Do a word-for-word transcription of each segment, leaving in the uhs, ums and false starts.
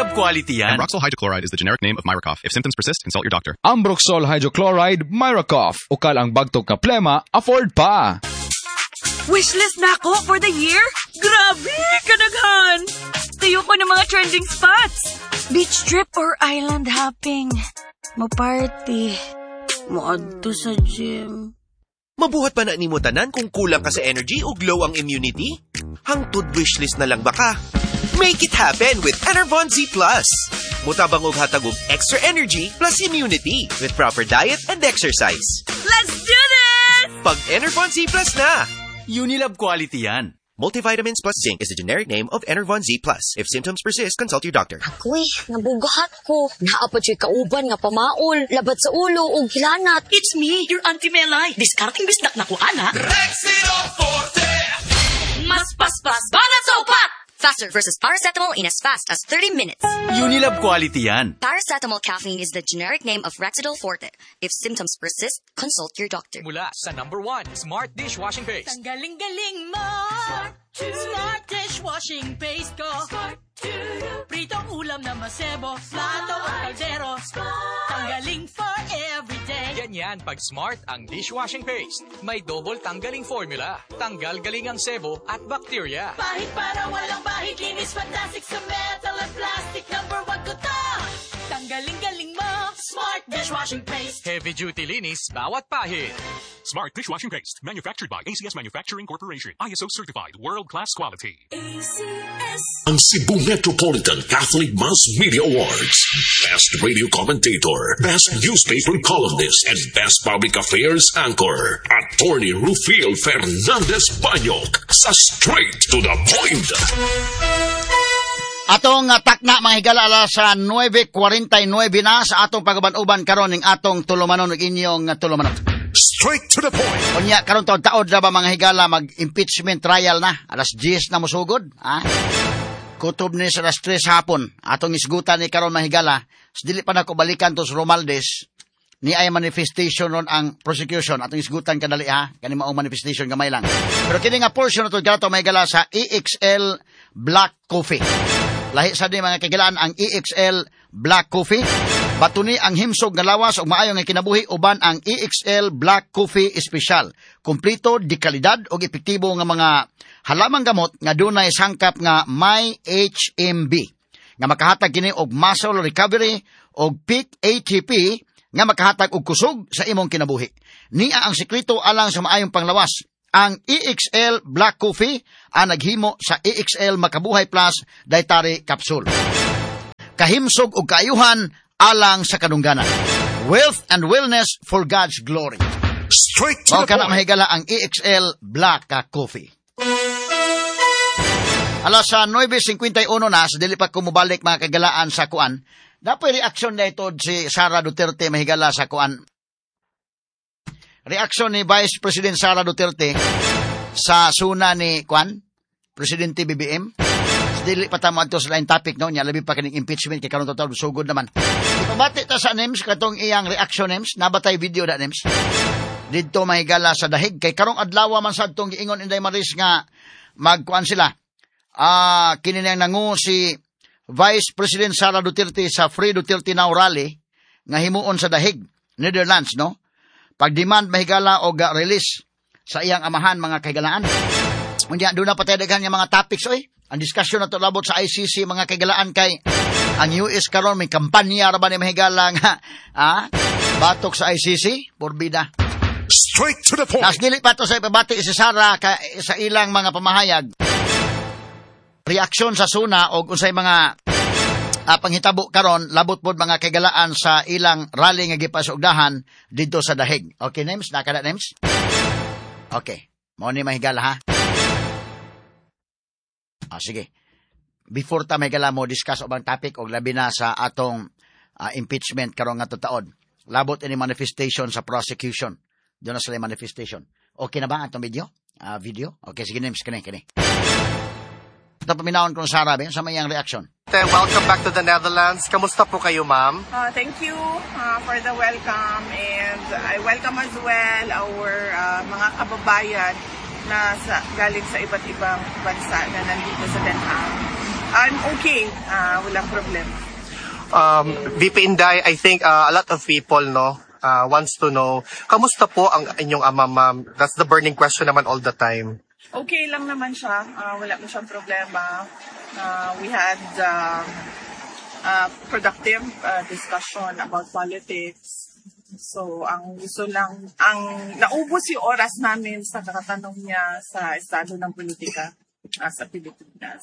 Unilab quality yan. Ambroxol hydrochloride is the generic name of Myracof. If symptoms persist, consult your doctor. Ambroxol hydrochloride, Myracof. Ukal ang bagtok nga plema, afford pa. Wishlist na ako for the year? Grabe, kadaghan! Tuyo ko ng mga trending spots. Beach trip or island hopping. Mo-party. Moadto sa gym. Mabuhat pa na nimo tanan kung kulang ka sa energy o low ang immunity? Hangtod wishlist na lang ba ka? Make it happen with Enervon Z Plus. Mutabang og hatag og extra energy plus immunity with proper diet and exercise. Let's do this! Pag Enervon Z Plus na! Unilab quality yan. Multivitamins plus zinc is the generic name of Enervon Z Plus. If symptoms persist, consult your doctor. Ako'y, nabugahat ko. Naa pa juy kauban nga pamaol, labad sa ulo ug hilanat. It's me, your Auntie Melay. Diskarteng bisdak na ko, ana. Mas paspas, banat sa upat! Faster versus paracetamol in as fast as thirty minutes. Unilab quality yan. Paracetamol caffeine is the generic name of Rexidol Forte. If symptoms persist, consult your doctor. Mula sa number one, Smart Dishwashing Paste. Ang galing-galing mo! Smart Dishwashing Paste ko. Pritong ulam na masebo, plato o kaldero. Tanggaling for every day. Ganyan pag Smart ang dishwashing paste. May double tanggaling formula. Tanggal galing ang sebo at bakterya. Pahit para walang bahid, linis fantastic sa metal and plastic. Number one ko to! Tanggaling-galing mo! Smart Dishwashing Paste. Heavy duty linis bawat pahid. Smart Dishwashing Paste, manufactured by A C S Manufacturing Corporation. I S O certified, world-class quality. Ang Cebu Metropolitan Catholic Mass Media Awards. Best Radio Commentator, Best Newspaper Columnist, and Best Public Affairs Anchor. Attorney Rufil Fernandez Banyok sa Straight to the Point. Atong uh, takna, mga higala, alas sa nuwebe kwarenta'y nuwebe na sa atong pag-uban-uban karon ning atong tulumanon ug inyong uh, tulumanon. Straight to the Point. Unya karon taod-taod na ba, mga higala, mag-impeachment trial na, alas diyes na mosugod, ha? Kutob ni sa alas tres hapon. Atong isgutan ni karon, mga higala. Sa dili pa nako balikan to sa Romualdez ni ay manifestation ron ang prosecution. Atong isgutan kadali ha, kani maong manifestation, gamay lang. Pero kini nga portion na to kanato, mga higala, sa E X L Black Coffee. Lahi sa ni, mga kagilaan, ang E X L Black Coffee. Batuni ang himsog nga lawas ug maayo nga kinabuhi uban ang E X L Black Coffee Special. Kumplito di kalidad ug epektibo nga mga halamang gamot nga dunay sangkap nga may H M B nga makahatag kini og muscle recovery og peak A T P nga makahatag og kusog sa imong kinabuhi. Nia ang sekreto alang sa maayong panglawas. Ang E X L Black Coffee ang naghimo sa E X L Makabuhay Plus Dietary Capsule. Kahimsog ug kaayuhan alang sa kadungganan. Wealth and wellness for God's glory. Straight to Mao the kana Point. Mahigala ang E X L Black Coffee. Alas sa nuwebe singkwenta'y uno na, sa dili pa kumubalik, mga kagalaan, sa kuan. Dapoy reaksyon na ito si Sara Duterte, mahigala, sa kuan. Reaksyon ni Vice President Sara Duterte sa suna ni kuan, Presidente B B M. Sa dili pa ta moadto sa lain topic, no, nya labi pa kining impeachment kay karon total sugod naman. Ipabati ta sa Nems katong iyang reaction, Nems, nabatay video da, Nems? Didto, mahigala, sa Dahig kay karong adlaw man sad tong giingon Inday Maris nga magkuan sila. Ah, kini nang nangu si Vice President Sara Duterte sa Free Duterte Now Rally nga himuon sa Dahig, Netherlands, no? Pag-demand, mahigala, og uh, release sa iyang amahan, mga kahigalaan. Unya doon na pa tayo daghan nga mga topics oy. Ang discussion na to labot sa I C C, mga kahigalaan, kay ang U S karon may kampanya ra ba ni, mahigala, nga ah, batok sa I C C, porbida. Straight to the Point. Nas dili pa to sa ipabati si Sara ka, sa ilang mga pamahayag. Reaksyon sa SONA og unsay mga ah, panghitabo karon labot pod, mga kaigalaan, sa ilang rally nga gipasugdahan didto sa Dahig. Okay, Nems, nakada, Nems? Okay. Mao ni, mahigala, ha. Ah, sige. Before ta, mahigala, mo discuss ubang topic og labi na sa atong ah, impeachment karon nga taod. Labot ini manifestation sa prosecution. Doon na sila yung manifestation. Okay na ba atong video? Ah, video? Okay, sige, Nems, kani kani. Ito paminawon kong Sarah, ba? Sa may iyang reaction. Welcome back to the Netherlands. Kamusta po kayo, ma'am? Uh, thank you uh, for the welcome and I welcome as well our uh, mga kababayan na sa, galing sa iba't ibang bansa na nandito sa Den Haag. I'm okay. Uh, walang problema. Um, V P Inday, I think uh, a lot of people, no, uh, wants to know, kamusta po ang inyong ama, ma'am? That's the burning question naman all the time. Okay lang naman siya. Uh, wala mo siyang problema. Uh, we had um, a productive uh, discussion about politics. So, ang gusto lang, ang naubos yung oras namin sa kakatanong niya sa estado ng politika uh, sa Pilipinas.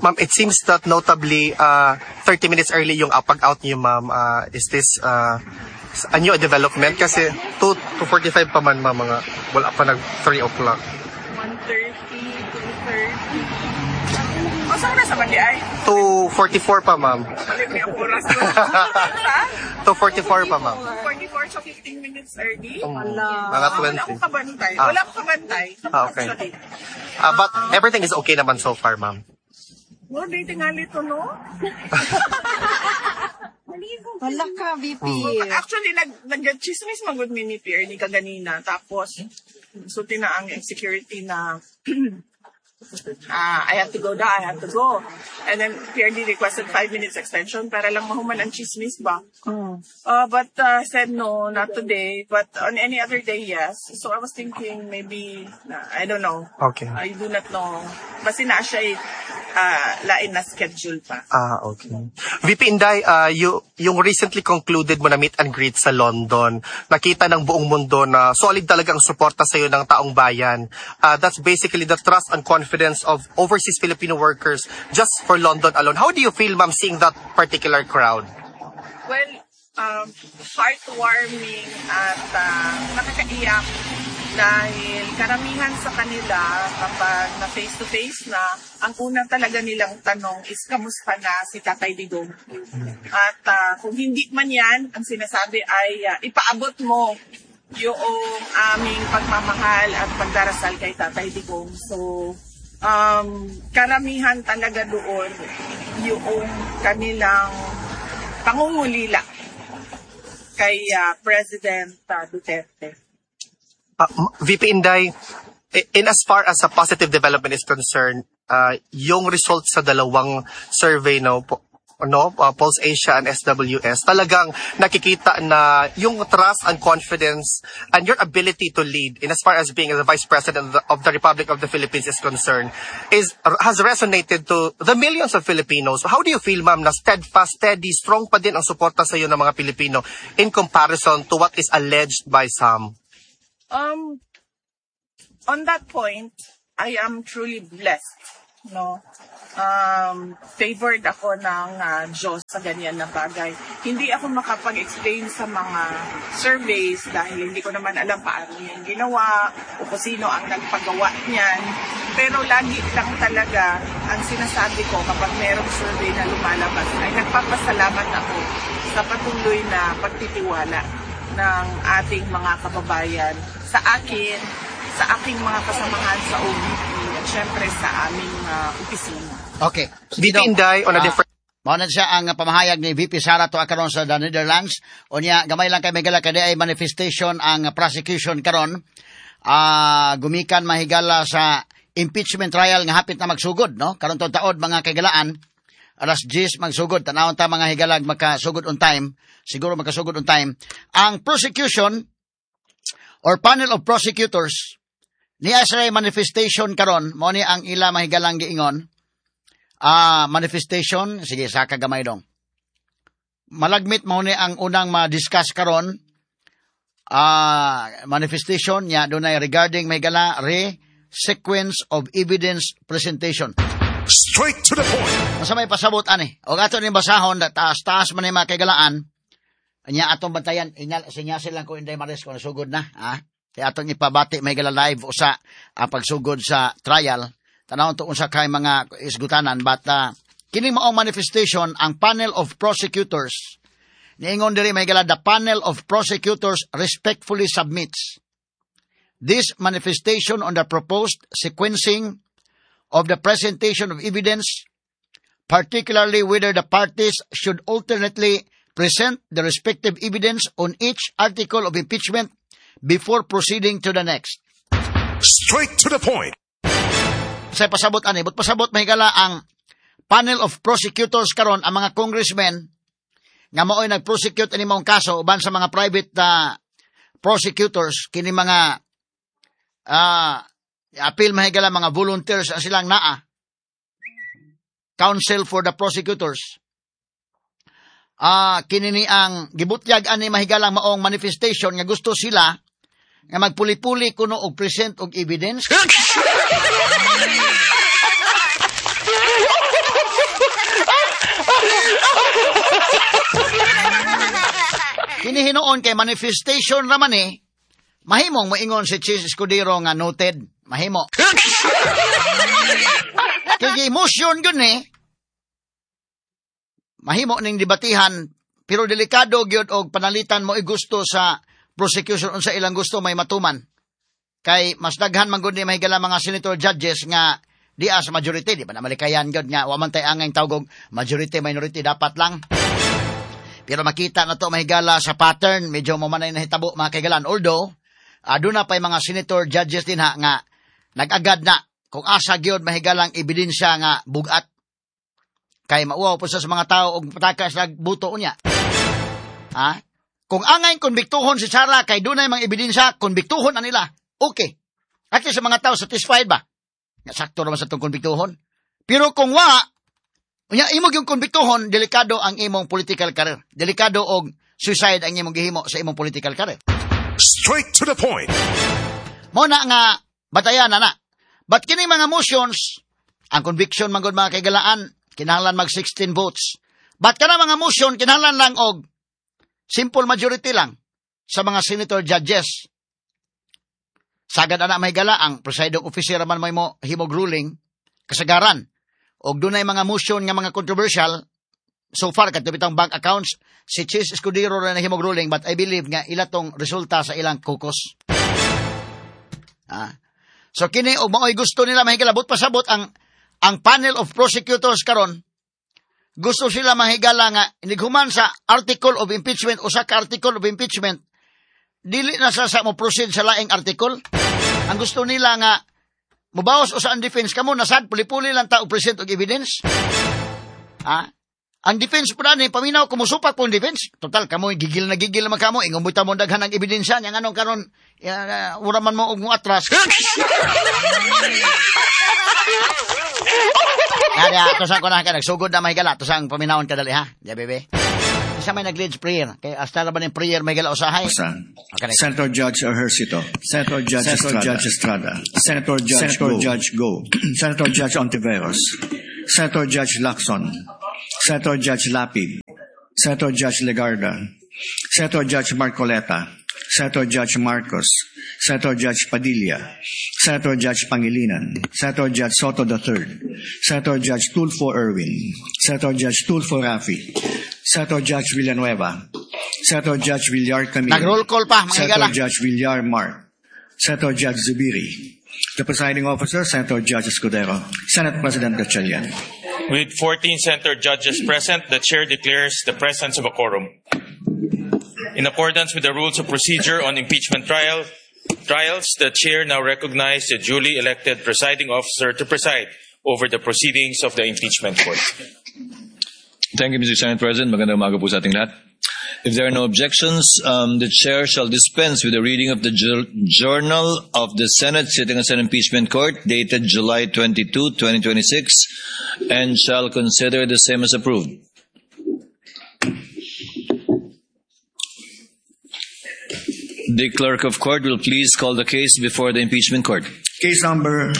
Ma'am, it seems that notably, uh, thirty minutes early yung uh, pag-out niyo, ma'am. Uh, is this uh, a new development? Kasi two to forty-five pa man, ma'am, mga wala pa nag three o'clock. one thirty, two thirty. O, saan na sa Mali ay? two forty-four pa, ma'am. Mali may ang oras ko. Saan? two forty-four pa, ma'am. forty-four, so fifteen minutes early. Um, mga Wala twenty. akong kabantay. Ah. Wala akong kabantay. Ah, okay. Actually. Uh, but everything is okay naman so far, ma'am. Oh, di tingali to, no? Wala ka, V P. Actually, nag, nag-chismis magud mi ni Pierre ni kaganina. Tapos, so na ang security na ah, I have to go da, I have to go. And then Pierre requested five minutes extension para lang mahuman ang chismis ba. Uh, but uh, said no, not today. But on any other day, yes. So I was thinking maybe, I don't know. Okay. I do not know. Basta na siya uh, lain na schedule pa. Ah, okay. V P Inday, uh, you, yung recently concluded mo na meet and greet sa London, nakita ng buong mundo na solid talaga ang suporta sa iyo ng taong bayan. Uh, that's basically the trust and confidence of overseas Filipino workers just for London alone. How do you feel, ma'am, seeing that particular crowd? Well, um, heartwarming at uh, nakakaiyak dahil karamihan sa kanila, kapag na face-to-face na, ang una talaga nilang tanong is kamusta na si Tatay Digong. At uh, kung hindi man yan, ang sinasabi ay uh, ipaabot mo yung aming pagmamahal at pagdarasal kay Tatay Digong. So, um, karamihan talaga doon yung kanilang pangungulila kay uh, President uh, Duterte. Uh, V P Inday, in as far as a positive development is concerned, uh, yung results sa dalawang survey, no, po, no, uh, Pulse Asia and S W S, talagang nakikita na yung trust and confidence and your ability to lead in as far as being the Vice President of the, of the Republic of the Philippines is concerned is has resonated to the millions of Filipinos. How do you feel, ma'am, na steadfast, steady, strong pa din ang suporta sa iyo ng mga Pilipino in comparison to what is alleged by some? Um, on that point, I am truly blessed, no? Um, favored ako ng uh, Diyos sa ganyan na bagay. Hindi ako makapag-explain sa mga surveys dahil hindi ko naman alam paano yan ginawa o kung sino ang nagpagawa niyan. Pero lagi lang talaga ang sinasabi ko kapag merong survey na lumalabas ay nagpapasalamat ako sa patuloy na pagtitiwala ng ating mga kababayan sa akin, sa aking mga kasamahan sa O V P at syempre sa aming uh, opisina. Okay. V P Inday, on a Ah, different Mao na siya ang pamahayag ni V P Sara to karon sa the Netherlands. Unya gamay lang kay Megala kay ay manifestation ang prosecution karon. Ah, gumikan, mahigala, sa impeachment trial nga hapit na magsugod, no? Karon to taod, mga kahigalaan, alas diyes magsugod. Tanawon ta, mga higalag, makasugod on time. Siguro makasugod on time. Ang prosecution or panel of prosecutors niya sa manifestation karon, mao ni ang ila, mahigalang, giingon. Ah, manifestation, sige, saka gamay dong. Malagmit mao ni ang unang ma-discuss karon. Ah, manifestation niya dunay regarding, mahigala, re sequence of evidence presentation. Straight to the point. Masa may pasabot ani. O ato ning basahon, taas-taas man ni mga kaigalaan. Anya atong bantayan, inyal sinyasil lang ko, Inday Maris, kung nasugod na, ha? Kaya atong ipabati, may gala, live usa ang pagsugod sa trial. Tanawon to unsa kay mga isgutanan, but uh, kining maong manifestation, ang panel of prosecutors niingon diri, may gala, the panel of prosecutors respectfully submits this manifestation on the proposed sequencing of the presentation of evidence, particularly whether the parties should alternately present the respective evidence on each article of impeachment before proceeding to the next. Straight to the point. Sa pasabot ani, but pasabot, mahigala, ang panel of prosecutors karon, ang mga congressmen nga mao'y nag-prosecute ani maong kaso uban sa mga private uh, prosecutors, kini mga uh, appeal, mahigala, mga volunteers ang silang naa counsel for the prosecutors. Ah, uh, kini ni ang gibutyag ani, mahigalang, maong manifestation nga gusto sila nga magpuli-puli kuno og present og evidence. Kini hinuon kay manifestation raman eh, mahimong moingon si Chiz Escudero nga noted, mahimo. Kay emotion gyud ni, mahimo ning debatihan, pero delikado gyud og panalitan mo gusto sa prosecution unsa ilang gusto may matuman. Kay mas daghan man gud ni mahigala mga senator judges nga diya sa majority, di ba na malikayan gyud nga wa man tay angay tawgog majority minority dapat lang. Pero makita na to, mahigala, sa pattern, medyo mo manay nahitabo, mga kaigalan. Although, aduna pa'y mga senator judges din ha nga nag-agad na kung asa gyud, mahigalang, ebidensya nga bugat. Kay mauwaw po sa mga tao og pataka sa buto niya. Ha? Kung angay konbiktuhon si Sara kay dunay mga ebidensya, konbiktuhon na nila. Okay. At sa mga tao satisfied ba? Nga sakto naman sa itong konbiktuhon. Pero kung wa, unya imong yung konbiktuhon, delikado ang imong political career. Delikado og suicide ang imong gihimo sa imong political career. Straight to the point. Mo na nga batayan na na. But kini mga motions, ang conviction man gud, mga kaigalaan, kinahanglan mag sixteen votes. But kana mga motion kinahanglan lang og simple majority lang sa mga senator judges. Sagad ana, mahigala, ang presiding officer man may mo himog ruling kasagaran. Og dunay mga motion nga mga controversial so far kadto bitang bank accounts, si Chiz Escudero ra nahimog ruling, but I believe nga ila tong resulta sa ilang caucus. Ah. So kini og maoy gusto nila, mahigala, but pasabot ang ang panel of prosecutors karon gusto sila, mahigala, nga inighuman sa article of impeachment, usa ka article of impeachment, dili na sa sa mo proceed sa laing article. Ang gusto nila nga mubawas usa ang defense, kamo nasad puli-puli lang ta og present og evidence. Ha? Ang defense po ni paminaw kumusupak po ang defense. Total kamo gigil na gigil naman kamo, ingon mo mo daghan ang ebidensya nya nganong karon uh, ura man mo og mo atras. Kaya to sa ko na ka nagsugod na, mahigala, to sa ang paminawon kadali ha. Di bebe. Isa may nag-lead prayer. Kay hasta ra ba ning prayer, mahigala, usahay. Okay. Senator Judge Ejercito, Senator Judge Senator Estrada, Judge Estrada, Senator Judge Senator Go, Judge Go, Senator Judge Ontiveros, Senator Judge Lacson, Senator Judge Lapid, Senator Judge Legarda, Senator Judge Marcoleta, Senator Judge Marcos, Senator Judge Padilla, Senator Judge Pangilinan, Senator Judge Sotto the Third, Senator Judge Tulfo Erwin, Senator Judge Tulfo Rafi, Senator Judge Villanueva, Senator Judge Villar Camille, Nag-roll call pa, mga Senator higala. Judge Villar Mark, Senator Judge Zubiri, the presiding officer, Senator Judge Escudero, Senate President Gatchalian. With fourteen senator judges present, the chair declares the presence of a quorum. In accordance with the rules of procedure on impeachment trial, trials, the chair now recognizes the duly elected presiding officer to preside over the proceedings of the impeachment court. Thank you, Mister Senate President. Magandang umaga po sa ating lahat. If there are no objections, um, the chair shall dispense with the reading of the jour- Journal of the Senate sitting as an impeachment court dated July twenty-two, twenty twenty-six, and shall consider the same as approved. The clerk of court will please call the case before the impeachment court. Case number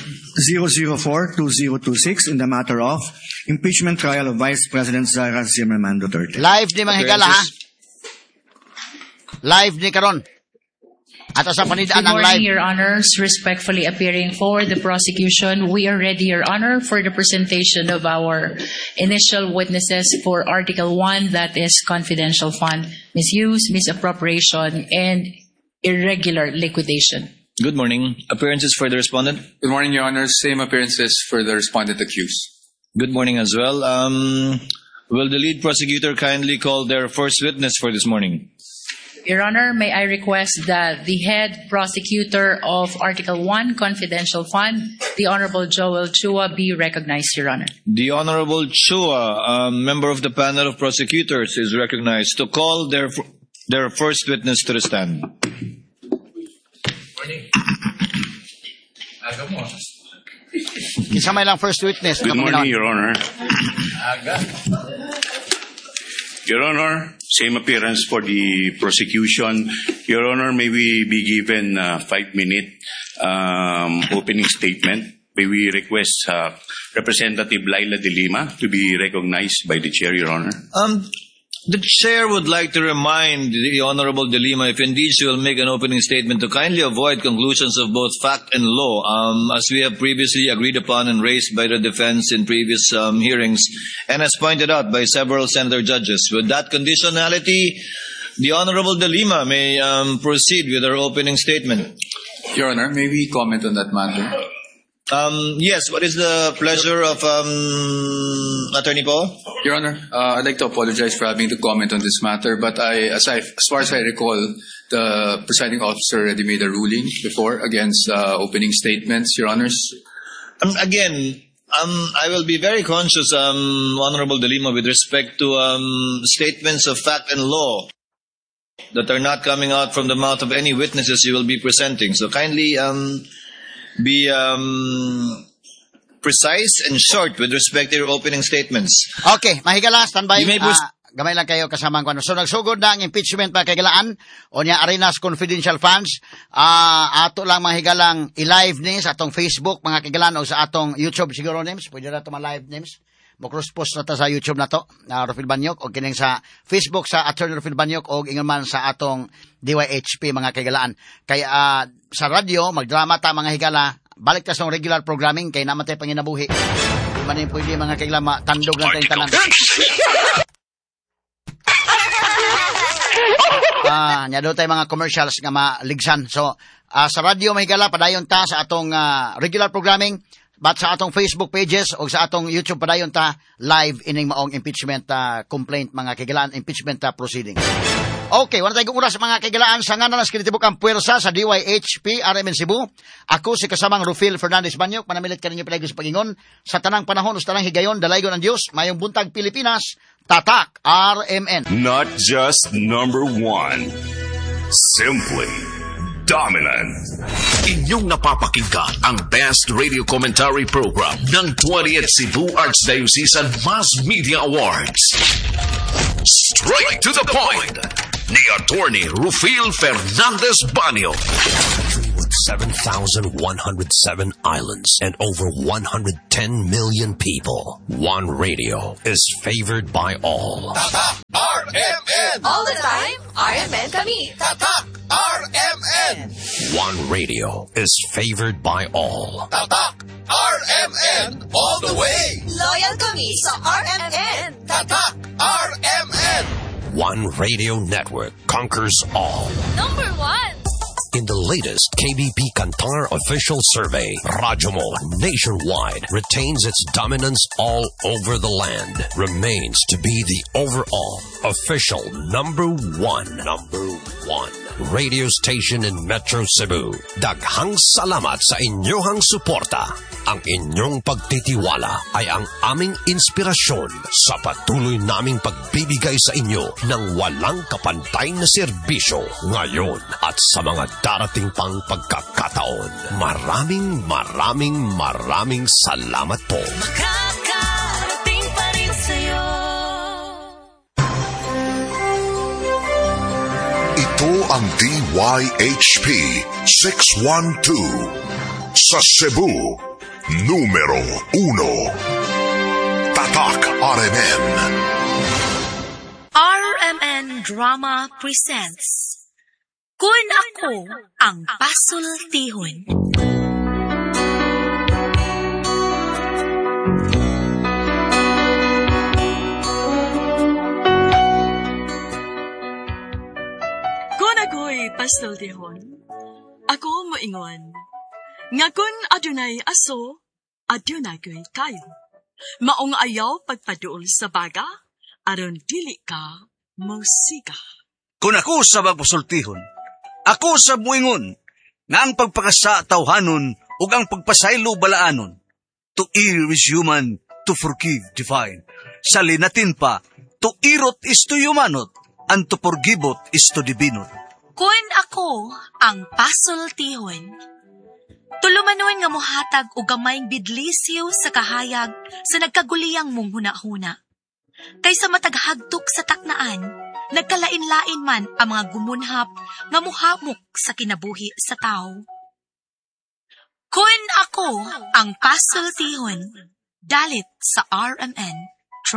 zero zero four two zero two six in the matter of impeachment trial of Vice President Sara Zimmerman Duterte. Live ni mga higala ha. Live ni karon. Ato sa panidaan Good ang morning, live. Your Honors. Respectfully appearing for the prosecution, we are ready, Your Honor, for the presentation of our initial witnesses for Article one, that is confidential fund misuse, misappropriation, and irregular liquidation. Good morning. Appearances for the respondent? Good morning, Your Honor. Same appearances for the respondent accused. Good morning as well. Um, will the lead prosecutor kindly call their first witness for this morning? Your Honor, may I request that the head prosecutor of Article one Confidential Fund, the Honorable Joel Chua, be recognized, Your Honor. The Honorable Chua, a member of the panel of prosecutors, is recognized to call their, their first witness to the stand. Morning. Aga mo. Kinsa may lang first witness. Good morning, Your Honor. Aga. Your Honor, same appearance for the prosecution. Your Honor, may we be given a five-minute um, opening statement? May we request uh, Representative Leila de Lima to be recognized by the chair, Your Honor? Um, the chair would like to remind the Honorable De Lima, if indeed she will make an opening statement, to kindly avoid conclusions of both fact and law, um, as we have previously agreed upon and raised by the defense in previous um, hearings, and as pointed out by several senator judges. With that conditionality, the Honorable De Lima may um, proceed with her opening statement. Your Honor, may we comment on that matter? Um, yes, what is the pleasure of um, Attorney Paul? Your Honor, uh, I'd like to apologize for having to comment on this matter, but I, as, I, as far as I recall, the presiding officer already made a ruling before against uh, opening statements, Your Honors. Um, again, um, I will be very conscious, um, Honorable De Lima, with respect to um, statements of fact and law that are not coming out from the mouth of any witnesses you will be presenting. So kindly um, be um, precise and short with respect to your opening statements. Okay, mahigala, standby. You may proceed. Ah, gamay lang kayo kasama ko. So nagsugod na ang impeachment mga kahigalaan o niya Arenas Confidential Funds. Ah, ato lang mga higalang i-live ni sa atong Facebook mga kahigalaan o sa atong YouTube siguro names. Pwede na ito ma-live names. Mo-cross post na ta sa YouTube na to, na Rufil Banyok, o kining sa Facebook sa Attorney Rufil Banyok o ingon man sa atong D Y H P mga kahigalaan. Kaya uh, sa radyo, magdrama ta mga higala, balik ta sa regular programming kay namatay panginabuhi. Di man yung pwede mga kahigalaan, matandog lang tayong tanan. Ah, nya do tay mga commercials nga maligsan. So, uh, sa radyo mga higala, padayon ta sa atong uh, regular programming. But sa atong Facebook pages o sa atong YouTube padayon ta live ining maong impeachment uh, complaint mga kahigalaan, impeachment uh, proceedings. Okay, wala tayong oras mga kahigalaan sa ngalan ng kinitibok ang puwersa sa D Y H P R M N Cebu. Ako si kasamang Rufil Fernandez Banyok, manamilit kaninyo palagi sa pagingon sa tanang panahon o sa tanang higayon, dalaygon ang Dios, mayong buntag Pilipinas, Tatak R M N. Not just number one, simply dominant. Inyong napapakinggan ang Best Radio Commentary Program ng twentieth Cebu Archdiocesan Mass Media Awards. Straight to the point ni Attorney Rufil Fernandez Banyo. With seven thousand one hundred seven islands and over one hundred ten million people, one radio is favored by all. Tatak R M N! All the time, R M N kami. Tatak R M N! One radio is favored by all. Tatak R M N all the way! Loyal kami sa R M N. Tatak R M N! One radio network conquers all. Number one! In the latest K B P Kantar official survey, Radyo Mo nationwide retains its dominance all over the land, remains to be the overall official number one, number one radio station in Metro Cebu. Daghang salamat sa inyong suporta. Ang inyong pagtitiwala ay ang aming inspirasyon sa patuloy naming pagbibigay sa inyo ng walang kapantay na serbisyo ngayon at sa mga darating pang pagkakataon. Maraming, maraming, maraming salamat po. Makakarating pa rin sa'yo. Ito ang D Y H P six one two sa Cebu, numero uno. Tatak R M N. R M N Drama presents Kun Ako Ang Pasultihon. Kun ako'y pasultihon, ako moingon, nga kun adunay aso, adunay ko'y kayo. Maong ayaw pagpaduol sa baga, aron dili ka mosiga. Kung ako sa magpasultihon, ako sa muingon, nga ang pagpakasa tawhanon ug ang pagpasaylo balaanon. To err is human, to forgive divine. Sa Linatin pa, to irot is to humanot, and to forgivot is to divinot. Kun ako ang pasultihon. Tulumanon nga mohatag og gamayng bidlisiw sa kahayag sa nagkaguliyang mong hunahuna. Kaysa matag hagtok sa taknaan, nagkalain-lain man ang mga gumunhap nga muhamok sa kinabuhi sa tao. Kun ako ang pasultihon, dalit sa R M N.